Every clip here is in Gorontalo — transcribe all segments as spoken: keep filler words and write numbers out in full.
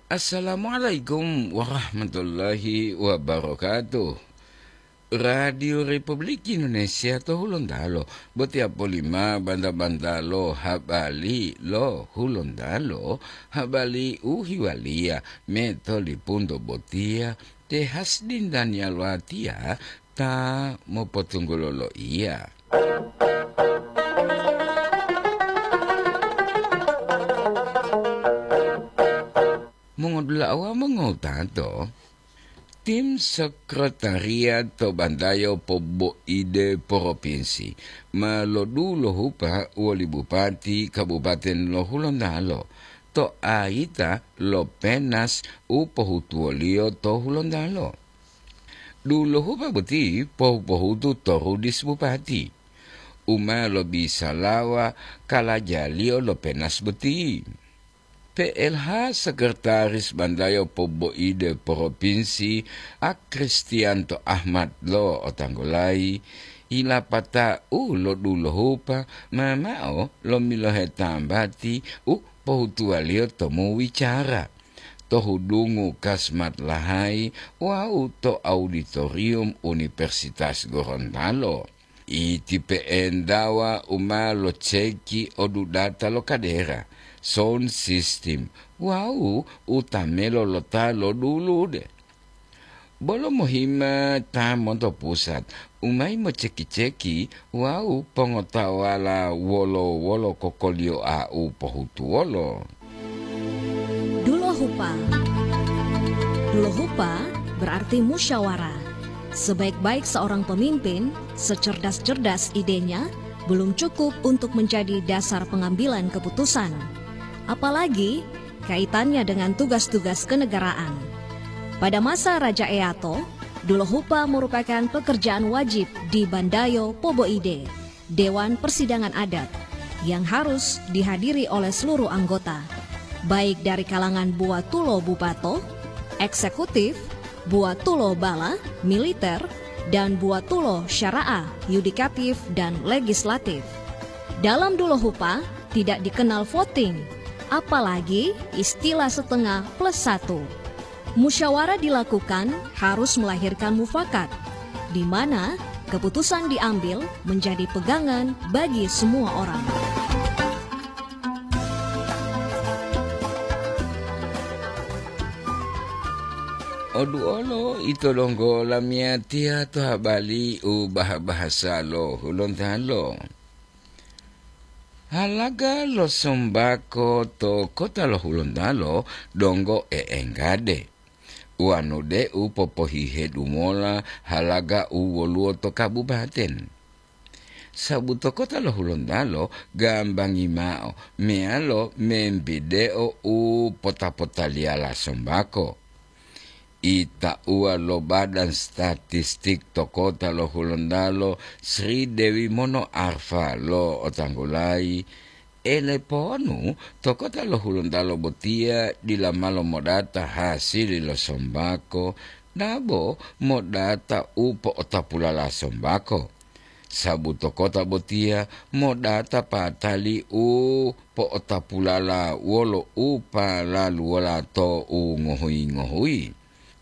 Assalamualaikum warahmatullahi wabarakatuh. Radio Republik Indonesia to Hulontalo, botiya polima banta-banta lo habari lo Hulontalo, habari u hiwaliya metolipunto botiya, te Hasdin Daniel Watiya ta mopotunggulo loiya. Mongodula'a wawu mongowutato, tim sekretariat to Bandayo Poboide Propinsi ma lodulohupa woli bupati Kabupaten lo Hulontalo to ayita lo penas u pohutuwoliyo to Hulontalo. Dulohupa boti pohu-pohutu to rudis bupati, u ma lobisalawa kalajaliyo lo penas boti. P L H Sekretaris Bandayo Poboide Propinsi, A Kristianto Ahmad lo otanggulayi, yilapata'u lo dulohupa ma mao lomilohe tambati u pohutuwaliyo to muwicara, to hudungu Kasmat Lahai wawu to auditorium Universitas Gorontalo. Iti pe'entawa u ma loceki odudata lo kadera, sound system, wawu utamelo lo ta lodulude. Bolo mohima ta monto pusat, u mayi moceki-ceki wawu pongotawala wolo-wolo kokoliyoa u pohutuwolo. Dulohupa. Dulohupa berarti musyawarah. Sebaik-baik seorang pemimpin, secerdas-cerdas idenya, belum cukup untuk menjadi dasar pengambilan keputusan. Apalagi kaitannya dengan tugas-tugas kenegaraan. Pada masa Raja Eato, dulohupa merupakan pekerjaan wajib di Bandayo Poboide, Dewan Persidangan Adat, yang harus dihadiri oleh seluruh anggota, baik dari kalangan buwatulo bupato, eksekutif, buwatulo bala, militer, dan buwatulo syara'ah, yudikatif, dan legislatif. Dalam dulohupa tidak dikenal voting, apalagi istilah setengah plus satu. Musyawarah dilakukan harus melahirkan mufakat, di mana keputusan diambil menjadi pegangan bagi semua orang. Oduolo ito donggo lamiyatiya to habari u bah-bahasa lo Hulontalo. Halaga lo sombako to kota lo Hulontalo donggo e'enggade. Wanu de'u popohihedu mola halaga u woluwo to kabupaten. Sabu to kota lo Hulontalo gambangi mao meyalo membideo u pota-potaliyala sombako. Itauwa lo Badan Statistik to kota lo Hulontalo, Sri Dewi Mono Arfa lo otanggulayi, eleponu to kota lo Hulontalo botiya dila malo modata hasili lo sombako, dabo modata u po'otapulala sombako. Sabu to kota botiya modata patali u po'otapulala wolo u palaluwola to u ngohuyi-ngohuyi,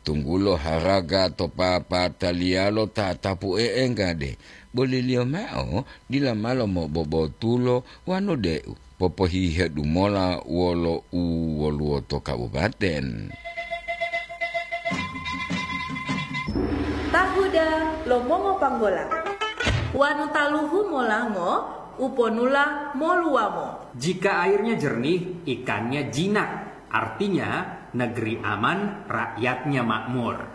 tunggulo haraga to papataliyalo tatapu e'enggade, boliliyo mao dila malo mobobotulo wanu de'u popohihedu mola wolo u woluwo to kabupaten. Tahuda lo mongopanggola. Wanu taluhu molango, uponula moluwamo. Jika airnya jernih, ikannya jinak. Artinya, negeri aman, rakyatnya makmur.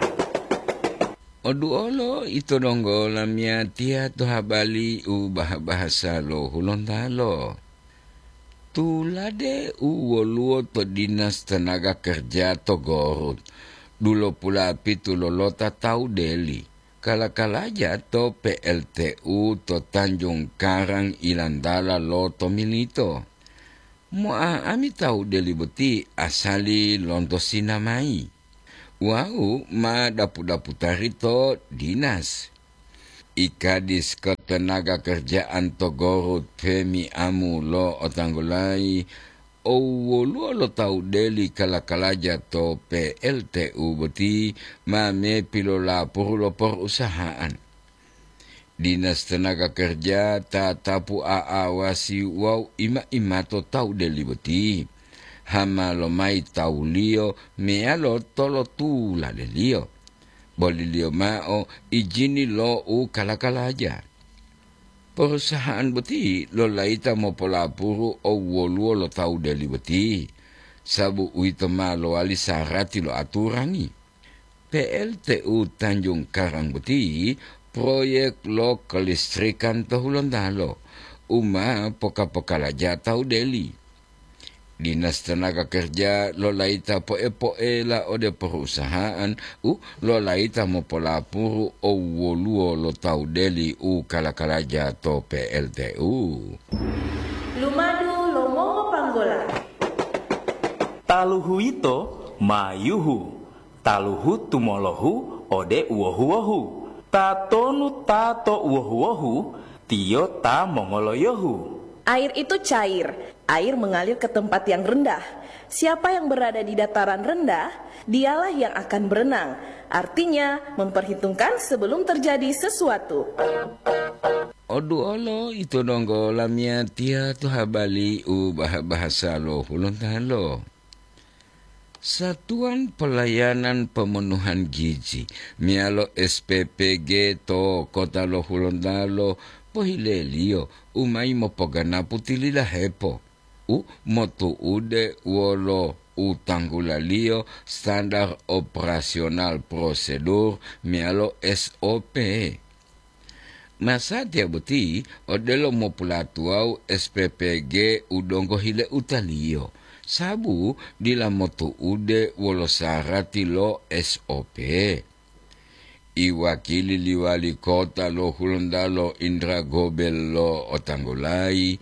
Oduolo ito donggo lamiyatiya to habari u bah-bahasa lo Hulontalo. Tulade u woluwo to Dinas Tenaga Kerja to Gorut, dulopulapitu lolota tawu deli, kala-kalaja to P L T U to Tanjung Karang ilantala lo Tomilito. Mo'a'ami tawu deli boti asali lonto Sinamayi wawu ma dapu-daputari to dinas. Ikadis Ketenaga Kerjaan to Gorut Femi Amu lo otanggulayi Owoluwo lo tawu deli kala-kalaja to P L T U boti ma mepilolapuru lo porusahaan. Dinas Tenaga Kerja tatapu a'awasi wawu ima-imato tawu deli boti. Hama lomayi tawuliyo meyalo tolotuladeliyo. Boliliyo mao ijini lo u kala-kalaja. Perusahaan boti lolayita mopolapuru owoluwo lo tawu deli boti, sabu uwito ma lowali sarati lo aturangi. P L T U Tanjung Karang boti proyek lo kelistrikan to Hulontalo u ma poka-pokalaja tawu deli. Dinas Tenaga Kerja lolayita poe-poela ode perusahaan u lolayita mopolapuru owoluwo lo tawu deli u kala-kalaja to P L T U. Lumadu lo mongopanggola. Taluhu yito ma yuhu, taluhu tumolohu ode uwohu-wohu. Tatonu ta to uwohu-wohu, tiyo ta mongoloyohu. Air itu cair, air mengalir ke tempat yang rendah. Siapa yang berada di dataran rendah, dialah yang akan berenang. Artinya, memperhitungkan sebelum terjadi sesuatu. Oduolo ito donggo lamiyatiya to habali u bahasa lo Hulontalo. Satuan Pelayanan Pemenuhan Gizi meyalo S P P G to kota lo Hulontalo pohileliyo u mayi mopoganapu tililahepo u motu'ude wolo u tanggulaliyo Standar Operasional Prosedur meyalo S O P. Masatiya boti odelo mopulatuwawu S P P G u donggo hileutaliyo, sabu dila motu'ude wolo sarati lo S O P. Iwakili liwali kota lo Hulontalo Indra Gobel lo otanggulayi,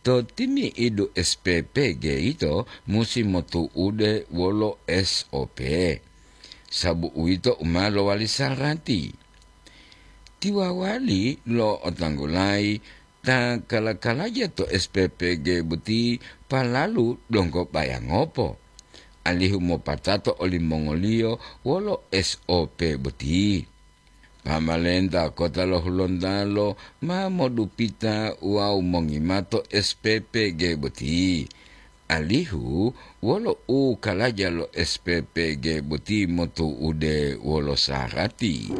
to timi'idu S P P G yito musi motu'ude wolo S O P, sabu uwito u ma lowali sarati. Tiwawali lo otanggulayi ta kala-kalaja to S P P G boti palalu donggo bayangopo, alihu mopatato olimongoliyo wolo S O P boti. Pamalenta kota lo Hulontalo ma modupita wawu mongimato S P P G boti, alihu wolo u kalaja lo S P P G boti motu'ude wolo sarati.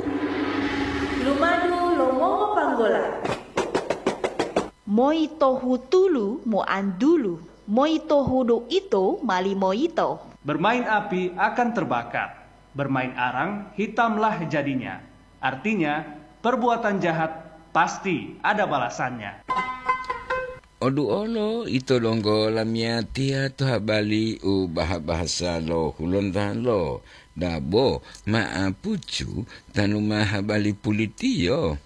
Lumadu lo mongopanggola. Moi tohutulu moantulu, moi tohudu ito mali moyito. Bermain api akan terbakar, bermain arang hitamlah jadinya. Artinya, perbuatan jahat pasti ada balasannya. Oduolo ito donggo lamiyatiya to habali u baha-bahasa lo Hulontalo, dabo ma'apucu tanu ma habali pulitiyo.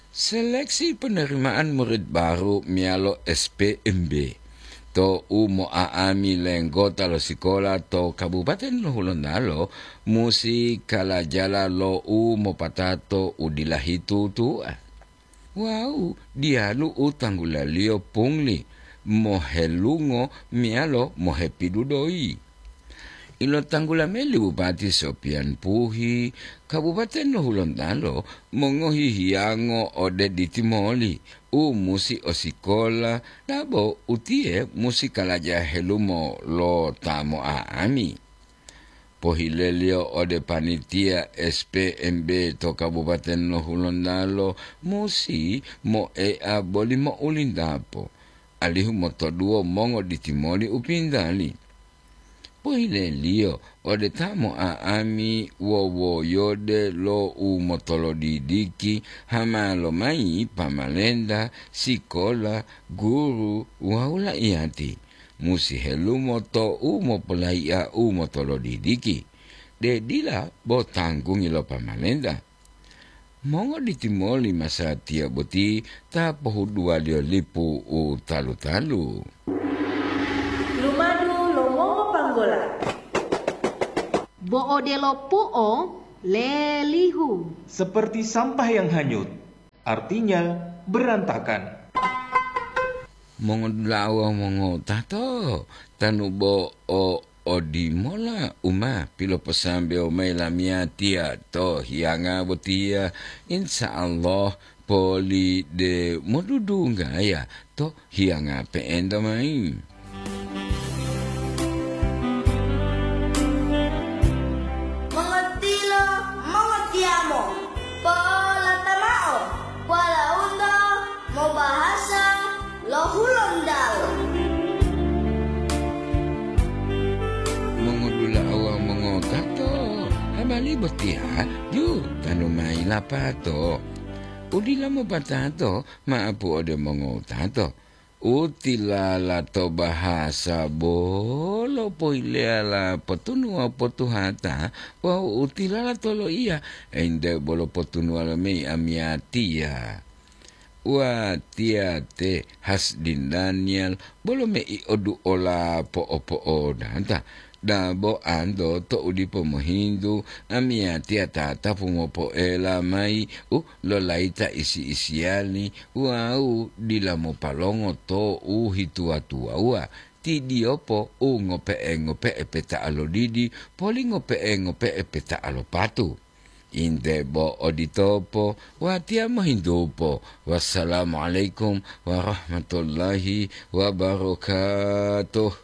Seleksi penerimaan murid baru meyalo S P M B to u mo'a'ami lenggota lo sikola to Kabupaten lo Hulontalo musi kalajala lo u mopatato u dila hitutu'a. Wawu diyalu u tanggulaliyo pungli, mohelungo meyalo mohepidudoyi. Ilotanggula mayi li Bupati Sopian Puhi, Kabupaten lo Hulontalo mongohi hiyango ode ditimoli u musi o sikola, dabo utiye musi kalaja helumo lo ta mo'a'ami. Pohileliyo ode panitia S P M B to Kabupaten lo Hulontalo musi moea boli mo'ulindapo, alihu motoduwo mongoditimoli u pintali. Pohileliyo ode ta mo'a'ami wowoyode lo u motolodidiki hama lomayi pamalenta, sikola, guru wawu la'iyati, musi helumo to u mopolayi'a u motolodidiki, de dila bo tanggungi lo pamalenta. Mongoditimoli masatiya boti ta pohuduwaliyo lipu u talu-talu. Lumadu lo mongopanggola. Bo odelo pu'o lelihu. Seperti sampah yang hanyut, artinya berantakan. Mongodula'a wawu mongotato, tanu bo o odimola u ma piloposambewo mayi lamiyatiya to hiyanga botiya, insya Allah poli de modudunggaya to hiyanga pe'enta mayi. Mongotilo, mongotiyamo, polata mao, walaundo mobahasa lo Hulontalo. Mongodula'a wawu mongotato, habari botiya ju tanu mayi lapato. Udila mopatato, maapu ode mongotato. U tilala to bahasa bolo poileyala potunuwa potuhata wawu u tilala to loiya ente bolo potunuwa lomeyi amiyatiya. Watiya te Hasdin Daniel bolo mei oduola po'opo'odata. Dabo anto to'u dipo mohintu, amiyatiya tatapu mopoela mayi u lolayita isi-isiyali wawu dila mopalongo to u hituwa-tuwawuwa, ti diyopo u ngope'e-ngope'e peta'a lo didi, poli ngope'e-ngope'e peta'a lo patu. Inte bo oditopo, watiya mohintupo. Wassalamualaikum warahmatullahi wabarakatuh.